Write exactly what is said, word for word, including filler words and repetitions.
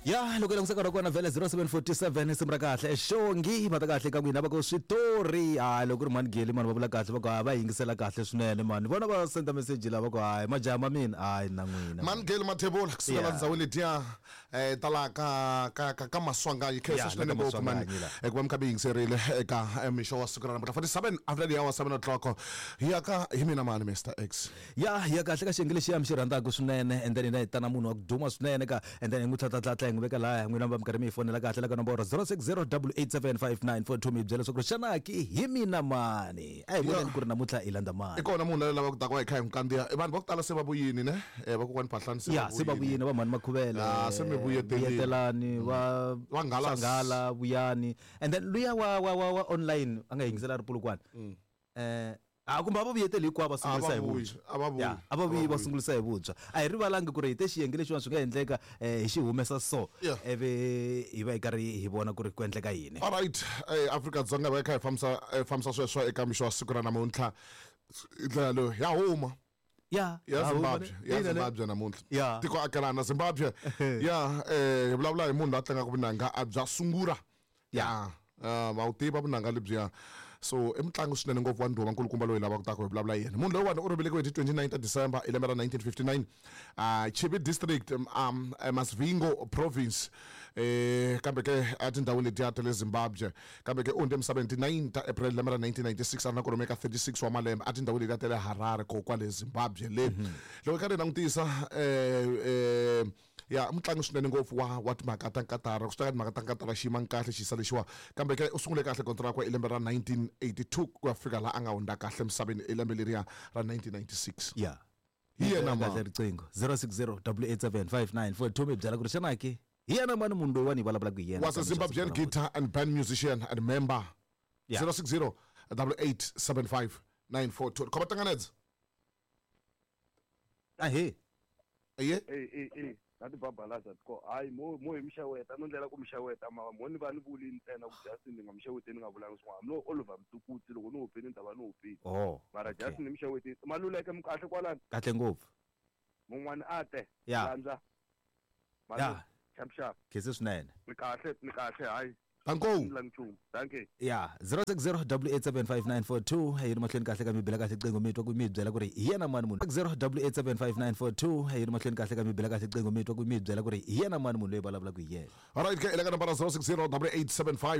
Ya loko hi langutisa nkarhi wa kona vhele zero seven forty seven simu ra kahle xongi va ta kahle ka n'wina va ku switori hayi loko ku ri mhani Geli mani va vula kahle va ku hayi va yingisela kahle swinene mani vona va senda message lava ku hayi majaha ma mina hayi na n'wina mani Geli Mathebula kusukela Yeah. ndhawini letiya eh tala ka ka ka ka Maswanganyi khensa Yeah, swinene la ka ngopfu mani Maswanganyi la. eh, ku va mi kha mi yingiserile eka eh, mixo wa siku ra namuntlha forty-seven after the hour seven o'clock hi ya ka hi mina mani Mister X. Ya hi ya kahle ka xiyenge lexiya mi xi rhandzaka swinene and then hina hi tana munhu wa ku duma swinene ka and then hi n'wi tlhatlatlatla hi n'wi veka laya n'wina va mi karhi mi hi fonela kahle la ka nomboro zero six zero double eight seven five nine four two mi hi byela leswaku xana ki hi mina mani a hi voneni ku ri namuntlha hi landza I mani kona munhu loyi lavaka ku ta ku va hi kha hi n'wi kandziya vanhu va ku tala se va vuyini ne eh va kokwani Phahlani se ya se va vuyini va mhani Makhuvele Ah, se mi vuyetelile. vuyetelani va Va Nghalas. Nghala Vuyani and then luya wa wa wa wa online a nga yingisela ri Polokwane eh a kumbe a va vuyeteli hinkwavo va sungurisa hi A va vuyi, vuntshwa a va vuyi, Ya, a va a va vuyi va vuyi. sungurisa hi vuntshwa a hi rivalangi ku ri hi te xiyenge lexiwani swi nga endleka eh, hi xi humesa so Yeah. ivi hi va hi karhi hi vona ku ri ku endleka yini Alright, eh Afrika-Dzonga va hi kha hi fambisa eh, fambisa sweswo eka mixo wa siku ra namuntlha hi ndlela leyo ya huma ya ya ha huma Zimbabwe ne? ya Ina ne? Zimbabwe namuntlha Ya. tiko akelana Zimbabwe ya eh hi vulavula hi munhu loyi a tlangaka vunanga a bya sungura ya Ah, va wu tiva vunanga lebyiya so i mutlangi swinene ngopfu wa ndhuma nkulukumba loyi lavaka ku ta ku hi vulavula hi yena munhu loyiwani u ri velekiwe hi ti twenty-nine ta December hi lembe ra nineteen fifty-nine ah Chivi district um, um, eh, Masvingo province eh kambe ke a tindhawini letiya ta le Zimbabwe kambe ke u hundze emisaveni ti nine ta April lembe ra nineteen ninety-six a ri na kwalomu ka thirty-six wa malembe a tindhawini letiya ta le Harare ko kwale Zimbabwe le loko hi karhi hi langutisa eh eh ya mutlangi swinene ngopfu wa wa timhaka ta nkatara ku swi teka timhaka ta nkatara xi yima kahle xiyisa lexiwa kambe ke u sungule kahle kontraka hi lembe ra nineteen eighty-two ku ya fika laha a nga hundza kahle emisaveni hi lembe leriya ra nineteen ninety-six ya Hi yena kahle mani. riqingho zero six zero double eight seven five nine four two mi byela ku ri xana ke hi yena mani munhu loyiwani hi vulavulaka hi yena was a Zimbabwean guitar and band musician and member Yeah. zero six zero double eight seven five nine four two khoma tanganedza ahe aye Eh eh eh na tibabalaza ko hayi mo mo hi mixaweta no ndlela ku mixaweta mara mo ni va ni vuli ntsena ku Justin ni nga mixaweteni ni nga vulangi swin'wana no Oliver Mtukudzi loko ni hupini ni ta va ni hupini oh mara okay. Justin ni mixaweteni Maluleke mi kahle kwalani kahle ngopfu mun'wani a te Ya. landza Ya. xap xap khense swinene ni kahle ni kahle hayi Danko ni la nchumu dankie ya zero six zero double eight seven five nine four two hi ri mahlweni kahle ka mi bela kahle qingo mi twa ku mi byela ku ri hi yena mani munhu zero double eight seven five nine four two hi ri mahlweni kahle ka mi bela kahle qingo mi twa ku mi byela ku ri hi yena mani munhu loyi vulavulaka hi yena alright ke ile ka nambara zero six zero double eight seven five